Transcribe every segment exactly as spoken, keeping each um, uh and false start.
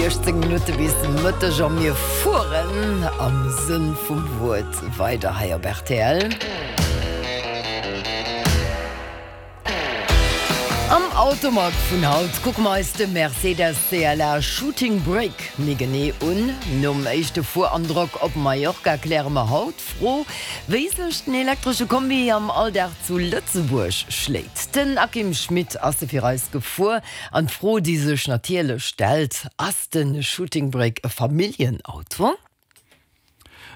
Siechzéng Minutte bis Mëtteg a mir fueren am Sënn vum Wuert weider hei op rtl. Am Automag vun haut kucke mer eis de Mercedes C L A Shooting Brake méi genee un. Nom éischte Fuerandrock op Mallorca kläre mer haut d'Fro, wéi sech den elektresche Kombi am Alldag zu Lëtzebuerg schléit. Den Akim Schmit ass e fir eis gefuer an d'Fro, déi sech natierlech stellt, Ass de Shooting Brake e Familljenauto?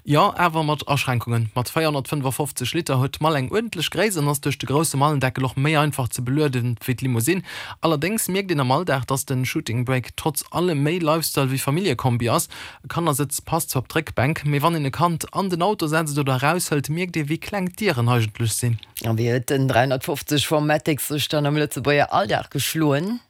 Jo, awer mat Aschränkungen. Mat véierhonnertfënnefafofzeg Liter huet d'Mall eng uerdentlech Gréisst an ass duerch de grousse Mallendeckel och méi einfach ze belueden wéi d'Limousine. Allerdéngs mierkt een am Alldag, dass den Shooting Brake trotz allem méi Lifestyle wéi Familljekombi ass. E Kannersëtz passt zwar op d'Réckbänk, mee wann een e Kand an den Auto setzt oder eraushëlt, mierkt ee wéi kleng d'Dieren eigentlech sinn. A wéi huet den dräihonnertfofzeg Formatic sech dann am Lëtzebuerger Alldag geschloen?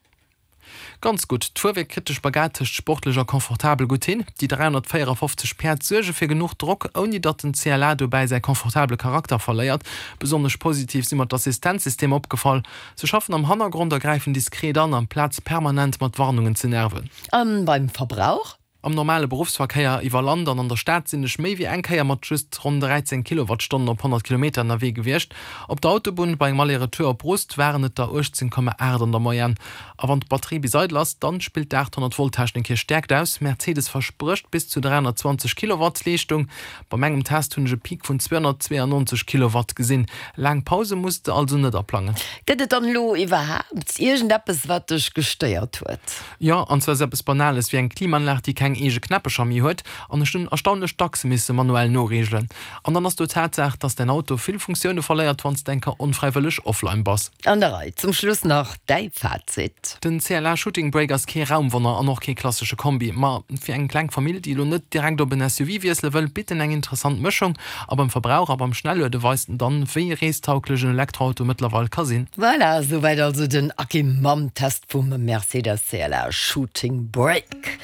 Ganz gutt, d'Fuerwierk kritt de Spagat tëscht sportlech a confortabel gutt hin. Déi dräihonnertvéierafofzeg Päerd suerge fir genuch Drock, ouni datt den C L A dobäi säi confortabele Charakter verléiert. Besonnesch positiv si mer d'Assistenzsystemer opgefall. Se schaffen am Hannergrond a gräifen diskret an, amplaz permanent mat Warnungen ze nerven. A beim Verbrauch? Am normale Beruffsverkéier iwwer Land an an der Stad sinn ech méi wéi eng Kéier mat just ronn dräizéng Kilowattstonnen op honnert Kilometer ënnerwee gewiescht. Op der Autobunn bei engem Aller-Retour op Rust waren et der uechtzéng Komma aacht an der Moyenne. A wann d'Batterie bis eidel ass, dann spillt d'aathonnert Volt Technik hir Stäerkt aus. Mercedes versprécht bis zu dräihonnertzwanzeg Kilowatt Leeschtung. Bei mengem Test hunn ech e Peak vun zweehonnertzweeanonzeg Kilowatt gesinn. Laang Pause muss de also net aplangen. Gëtt et dann elo iwwerhaapt iergendeppes, wat dech gestéiert huet? Jo, an zwar esou eppes Banales wéi eng Klimaanlag, déi keng eege Knäppecher méi huet, an ech hunn erstaunlech dacks misse manuell noreegelen. An dann ass do d'Tatsaach, dass däin Auto vill Funktioune verléiert, wann s de eng Kéier onfräiwëlleg offline bass. An der Rei. Zum Schluss nach däi Fazit. Den C L A Shooting Brake ass kee Raumwonner an och kee klassesche Kombi, ma fir eng kleng Famill, déi elo net direkt op en S U V wiessele wëll, bitt en eng interessant Mëschung. A beim Verbrauch a beim Schnelluede weist en dann, wéi reestauglech en Elektroauto mëttlerweil ka sinn. Voilà, souwäit also den Akim mam Test vum Mercedes C L A Shooting Brake.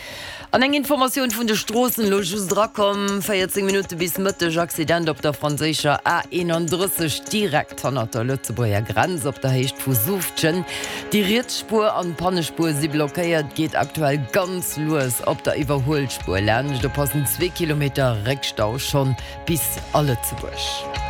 An eng Informatioun vun de Stroossen, elo just erakomm, véierzéng Minutte bis Mëtteg, Accident op der franséischer A eenanddrësseg direkt hannert der Lëtzebuerger Grenz op der Héicht vu Suuftgen. Déi riets Spuer an d'Pannespuer si blockéiert, geet aktuell ganz lues op der Iwwerhuelspuer laanscht. Oppassen, zwee Kilometer Réckstau schonn bis a Lëtzebuerg.